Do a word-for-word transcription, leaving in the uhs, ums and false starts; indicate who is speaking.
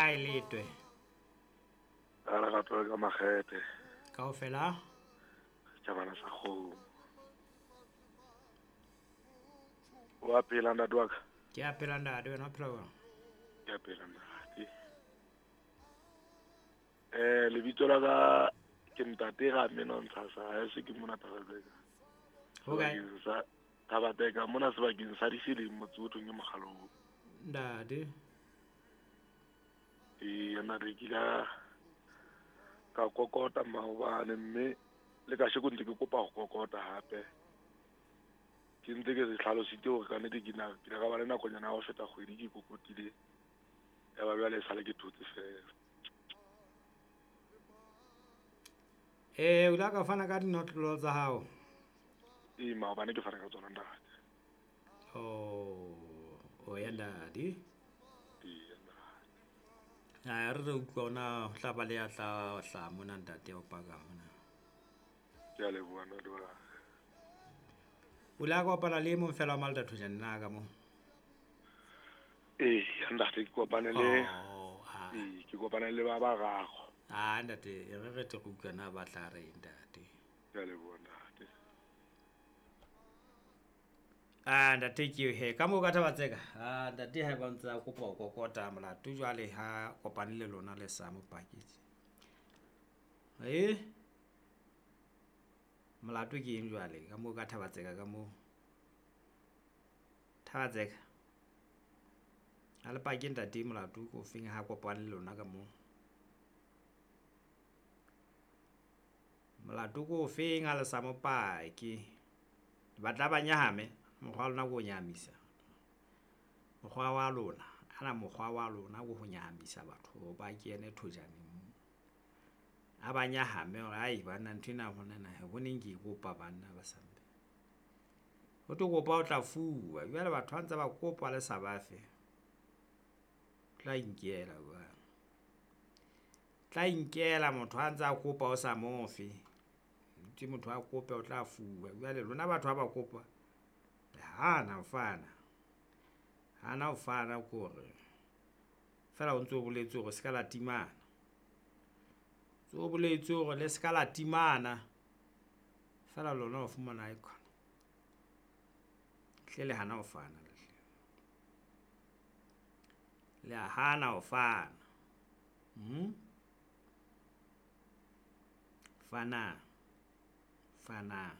Speaker 1: kae letwe?
Speaker 2: Ka re ka ka makgethe.
Speaker 1: Kaofela?
Speaker 2: Setjhabana sa kgomo. Wa phela ntate wa ka?
Speaker 1: Ke a phela ntate, wena o phela jwang?
Speaker 2: Ke a phela ntate. Eh lebitso la ka ke ntate Ramenontsha sa ha se ke mona Thabatseka.
Speaker 1: Ho kae?
Speaker 2: Sa Thabatseka mona sebakeng sa Diseleng motse o thong ke Mokgalong.
Speaker 1: Ntate.
Speaker 2: Ee, nna re kile ka kokota maobane mme le kasheko ntse ke kopa ho kokota hape. Ke ntse ke se hlalositse hore ka nnete ke na ke ile ka ba le nakonyana ya ho feta kgwedi ke kokotile. Ya ba jwale e sale ke thotse feela.
Speaker 1: Eh, o ile ka fana ka dinotlolo tsa hao?
Speaker 2: Ee, maobane ke fana ka tsona ntate.
Speaker 1: Oh, o ya ntate.
Speaker 2: Ee, ntate.
Speaker 1: A re re utlwa ona ho tla ba le ya tla hlaha mona ntate o paka mona.
Speaker 2: Ke a leboha ntate wa ka.
Speaker 1: O ile a kopana le e mong fela wa Malta Thojane na ka moo?
Speaker 2: Ee, ntate ke kopane le
Speaker 1: Oh, ah.
Speaker 2: Ee, ke kopane le ba bararo.
Speaker 1: Ah, ntate, e re re tle re utlwe na ba tla reng ntate.
Speaker 2: Ke a leboha ntate.
Speaker 1: Ah, ntate ke eo he, ka moo ka Thabatseka. Ah, ntate ha ba ntse a kopa ho kokota molato jwale ha kopane le lona le sa mo paketse. Eh? Molato ke eng jwale ka moo ka Thabatseka ka moo? Thabatseka. Ha le pake ntate molato ke ofeng ha kopane le lona ka moo? Molato ke ofeng ha le sa mo pake? Batla ba nyahame, mokgwa wa lona ke ho nyahamisa. Mokgwa wa lona, ana mokgwa wa lona ke ho nyahamisa batho ba kene Thojaneng. A ba nyahame hore ai banna ntho ena hona na ho neng ke e kopa banna ba sampe. Ho tlo kopa o tla fuwa, jwale batho ba ntse ba kopa le sa ba fe. Tla inkela jwang. Tla inkela motho ha ntse a kopa o sa mo fe. Ntse motho a kope o tla fuwa. Jwale lona batho ha ba kopa le hana ho fana. Hana ho fana ke hore feela o ntso boletse hore se ka la timana. Tso boletse hore le se ka la timana. Feela lona o fumana icon. Hle le hana ho fana le hle. Le a hana ho fana. Hmm? Fana. Fana.